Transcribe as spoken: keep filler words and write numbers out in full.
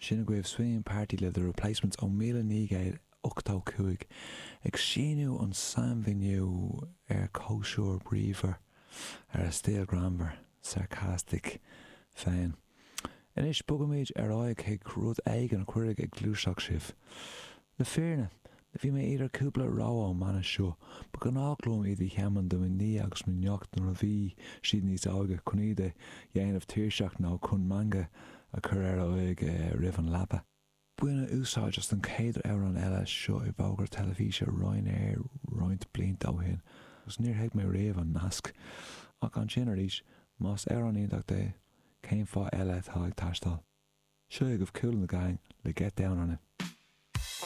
Sin agaibh Swingin' Party le The Replacements ó míle naoi gcéad ochtó cúig, ag síniú an sainmhíniú ar chóisir bríomhar ar a stíl greannmhar, sarcastic féin. Anois bogaimid ar aghaidh chuig rud éigin a chuirfidh ag gluaiseacht sibh. Le fírinne, bhí mé idir cúpla rogha ón mbanna seo. Ba ghnách liom iad a sheinm do mo nia agus mo neacht nuair a bhí siad níos óige chun iad a dhéanamh tuirseach nó chun meangadh a chur ar a aghaidh roimh an leaba. Baineadh úsáid as an chéad amhrán eile seo i bhfógra teilifíse Ryanair roinnt blianta ó shin agus níor thuig mé riamh an nasc. Ach ansin arís, más amhrán iontach é, cén fáth eile atá ag taisteal? Seo agaibh Kool and the Gang le Get Down on It.